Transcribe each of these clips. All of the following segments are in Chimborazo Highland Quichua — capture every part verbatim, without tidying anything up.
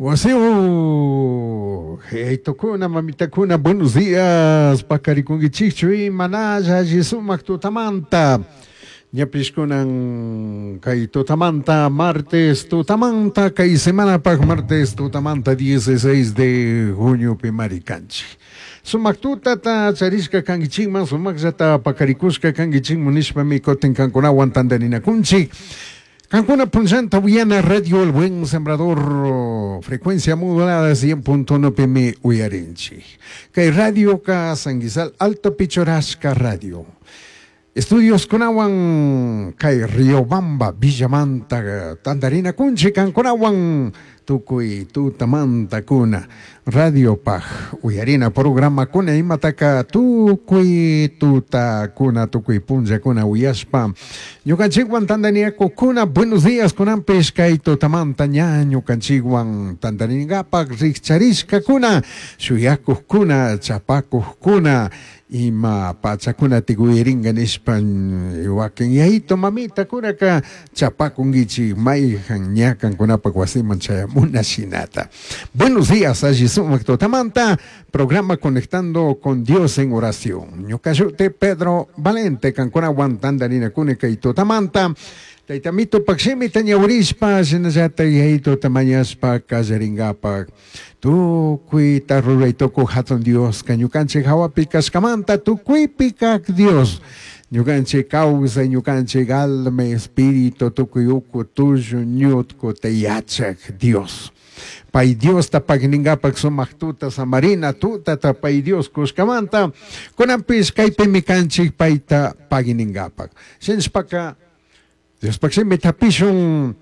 Wasiu, Heitukuna, mamitakuna, buenos días, paqarikunkichikchu imanalla alli sumak tutamanta. Ñapish kunan kay tutamanta, martes tutamanta, kay semanapaq martes tutamanta dieciséis de junio pimari kanchik. Sumak tutata charishka kankichikman, sumakllata paqarikushka kankichikman nishpami kutin kankunawan tantarinakunchik. Kankuna punllanta uyana Radio El Buen Sembrador, frecuencia modulada cien punto uno pimi uyarinchik. Kay radio ka Sanguizal Alto Pichorashka Radio. Estudios kunawan kay Riobamba Villamanta tantarina kunchik kankunawan tukuy tutamanta kuna radio paj uyarina programa kuna imataka tukuy tuta kuna tukuy punlla kuna uyashpa ñukanchikwan tantaniaku kuna. Buenos días kunanpish kay tutamanta ña ñukanchikwan tantaringapak rikcharishka kuna shuyakuq kuna chapakuq kuna ima pachakuna tikuyiringa nishpa wakin yayito mamita kunaka chapakunkichik mayjan ña kankunapak wasiman chayamuna shinata. Buenos días, alli sumak tutamanta, programa Conectando con Dios en Oración. Ñuka shuti Pedro Valente, kankunawan tantarinakuni kay tutamanta. Taytamito pakshimita ñawrishpa, shinallata yayito tamañashpa kallaringapak. Tukuyta ruraytukuq hatun Dios, ka ñukanchik hawapi kashkamanta tukuypi kaq Dios. Ñukanchik kawsay, ñukanchik alma, espíritu, tukuy uku, tullu, ñutku, te yachaq Dios. Pay Dios tapagningapak sumaq tuta samarina tuta tapay Dios kushkamanta, kunanpis kaypimi kanchik payta pagningapak. Shinshpaka Dios pakshimi tapishun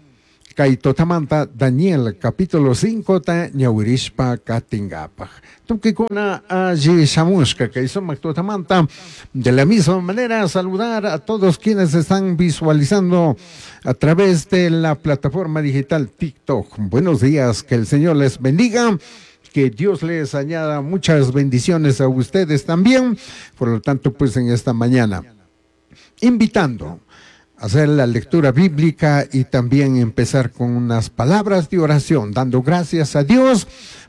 kay tutamanta Daniel capítulo cinco ta ñawirishpa katingapak. Tukikuna alli shamushka kay sumaq tutamanta. De la misma manera saludar a todos quienes están visualizando a través de la plataforma digital TikTok. Buenos días, que el Señor les bendiga. Que Dios les añada muchas bendiciones a ustedes también. Por lo tanto, pues en esta mañana, invitando a hacer la lectura bíblica y también empezar con unas palabras de oración, dando gracias a Dios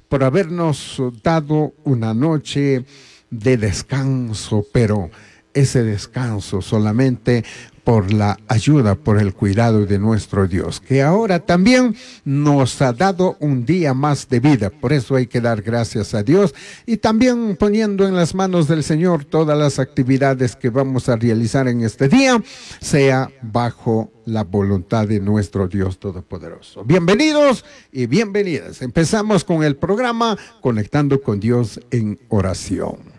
por habernos dado una noche de descanso, pero ese descanso solamente por la ayuda, por el cuidado de nuestro Dios, que ahora también nos ha dado un día más de vida. Por eso hay que dar gracias a Dios y también poniendo en las manos del Señor todas las actividades que vamos a realizar en este día, sea bajo la voluntad de nuestro Dios Todopoderoso. Bienvenidos y bienvenidas. Empezamos con el programa Conectando con Dios en Oración.